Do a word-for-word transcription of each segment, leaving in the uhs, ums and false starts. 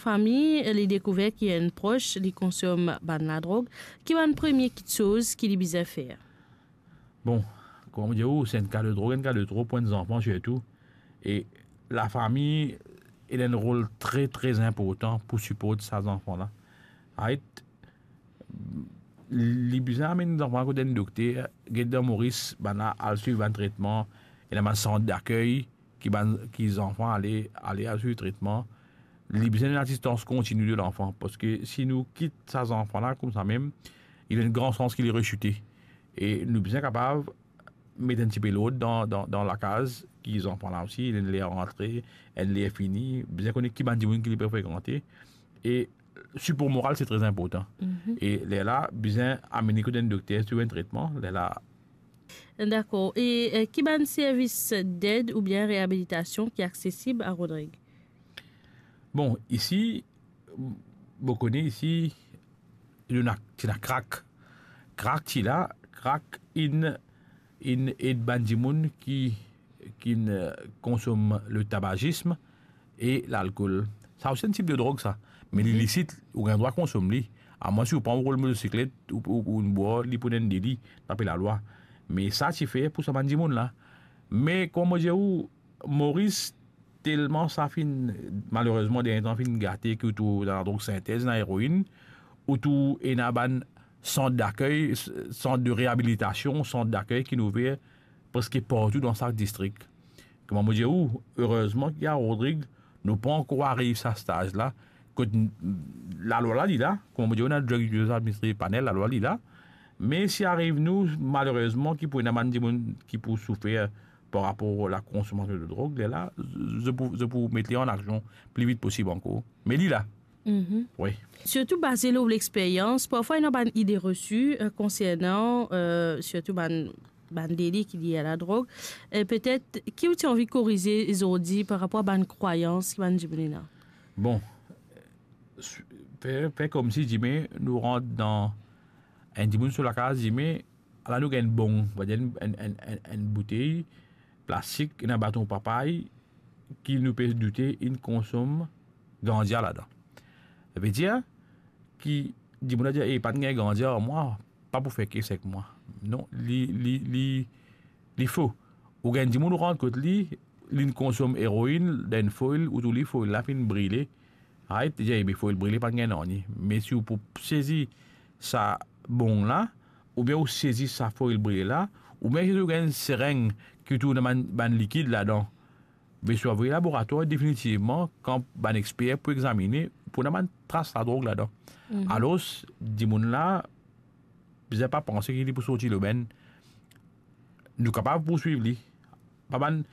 Fami, li dekouver ki enn pros, li konsom bann ladrog, ki bann premie kitsoz ki li bizin fer? Bon, kouma mo dir ou, se enn ka de drog, enn ka de tro pou enn zanfan sirtou. E lafami, ena enn rol tre, tre inportan pou siport sa zanfan la. Right? Li bizin amenn zanfan la kot enn dokter, get dan Moris, bann la al swiv bann tretman, ena bann sant dakey, ki bann, ki zanfan ale, ale al swiv tretman, li bizin enn asistans kontini de lanfan, parski si nou kit sa zanfan la koumsa mem, li ena enn gran sans ki li resite. E nou bizin kapav met enn tipe lord dan, dan, dan lakaz ki zanfan la osi, li ena enn ler rantre, enn ler fini, bizin kone ki bann dimoun ki li pe frekante. E sipor moral, se tre inportan. Mhm. E lerla, bizin amenn li kot enn dokter, swiv enn tretman, lerla. Dakor. E, eh, ki bann servis ded oubien reabilitasion ki aksesib a Rodrig? Bon, isi, mo kone isi, nou ena, ti ena krak. Krak ti la, krak inn, inn ed bann dimoun ki, ki, eh, konsom le tabazism e lalkol. Sa osi enn tip de drog sa. Me li lisit, ou gagn drwa konsom li. Amwin si ou pran ou rol motosiklet, ou, ou, ou inn bwar, li pou ena enn deli, dapre lalwa. Me sa ti fer pou sa bann dimoun la. Me kouma mo dir ou, Moris, telman sa finn, malerezman, dernie tan finn gate, ki ou trouv ena ladrog sintez, ena eroinn, ou trouv ena bann sant dakey, s-, sant de reabilitasion, sant dakey ki inn ouver preske partou dan sa distrik. Kouma mo dir ou, erezman ki a Rodrig, nou pa ankor ariv sa staz la, kot n-, lalwa la li la, kouma mo dir ou, ena Drug Users Administration Panel, lalwa li la, me si ariv nou, malerezman, ki pou ena bann dimoun ki pou soufer par rapor la konsomasion de drog, lerla, zot pou, zot pou met li an aksion pli vit posib ankor. Me li la. Mhm. Wi. Sirtou baze lor lexperyans, parfwa ena bann ide resi, eh, konsernan, eh, sirtou bann, bann deli ki lie a ladrog. E petet, ki ou ti anvi korize zordi par rapor a bann krwayans ki bann dimoun ena? Bon, s-, fer, fer koumsi dime nou rant dan enn dimoun so lakaz, dime, ala nou gagn enn bong, va dir enn, enn, enn, enn, enn boutey plastik, ena baton papay ki nou pe doute inn konsom ganza ladan. Savedir ki dimoun la dir, "E, pa gagn ganza ar mwa, pa pou fer kes ek mwa." Non, li, li, li, li fo. Ou gagn dimoun ou rant kot li, linn konsom eroinn dan enn foil, ou trouv li foil la finn brile. Right? Li dir, "E, me foil brile pa gagn nanye." Me si ou pou sezi sa bong la, oubien ou sezi sa foil brile la, oubien si ou gagn sereng ki ou trouv ena bann, bann likid ladan, be si ou avoy laboratwar, definitivman, kan bann exper pou examine, pou ena bann tras ladrog ladan. Mhm. Alor, dimoun la, bizin pa panse ki li pou sorti lobenn. Nou kapav pourswiv li. Pa bann,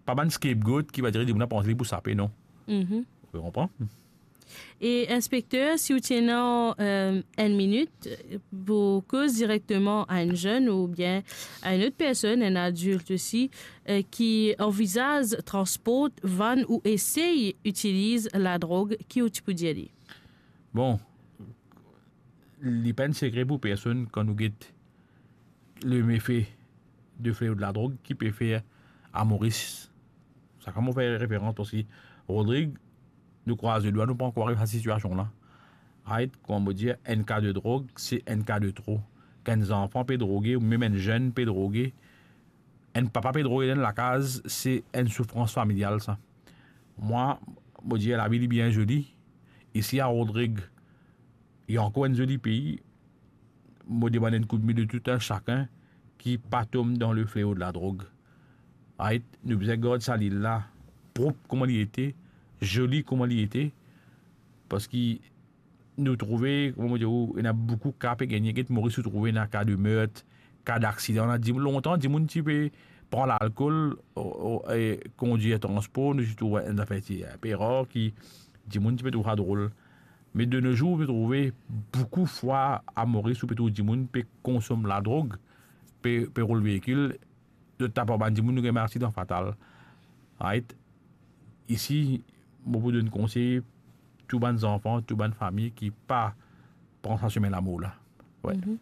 pa bann scapegoat ki va dir dimoun la panse li pou sape, non. Mhm. Ou konpran? E inspekter, si ou ti ena, eh, enn minit, eh, pou koz direkteman a enn zenn oubien a enn lot personn, enn adilt osi, eh, ki anvizaz transport, vann ou esey itiliz ladrog, ki ou ti pou dir li? Bon, li pa enn sekre pou personn kan nou get le mefe de fleo de ladrog ki pe fer a Moris. Sa kan mo fer referans parski Rodrig, nou krwaz ledwa, nou pa ankor ariv sa sitiasion la. Right, kouma mo dir, enn ka de drog, se enn ka de tro. Kan enn zanfan pe droge, ou mem enn zenn pe droge, enn papa pe droge dan enn lakaz, se enn soufrans familial sa. Mwa, mo dir, lavi li bien zoli. Isi a Rodrig, li ankor enn zoli pei. Mo demann enn koudme de tou enn sakenn ki pa tom dan le fleo de ladrog. Right? Nou bizin gard sa lil la prop kouma li ete, zoli kouma li ete, parski nou trouve, kouma mo dir ou, ena boukou ka pe gagne. Get Moris, ou trouve ena ka de mert, ka daksidan. Ena dim-, lontan, dimoun ti pe pran lalkol, o, o, e kondir transpor, nou ti trouv enn zafer ti inpe rar ki dimoun ti pe trouv sa drol. Me de no zour, ou pe trouve boukou fwa a Moris, ou pe trouv dimoun pe konsom ladrog, pe, pe roul veikil, zot tap ar bann dimoun, nou gagn bann aksidan fatal. Right? Isi, mo pou donn konsey tou bann zanfan, tou bann fami ki pa pran sa semin lamor la. Wi. Mhm.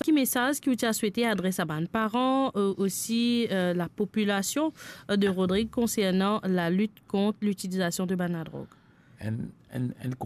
Ki mesaz ki ou ti a swete adres a bann paran, euh, osi, euh, lapopilasion, euh, de Rodrig konsernan lalit kont litilizasion de bann ladrog? enn, enn, enn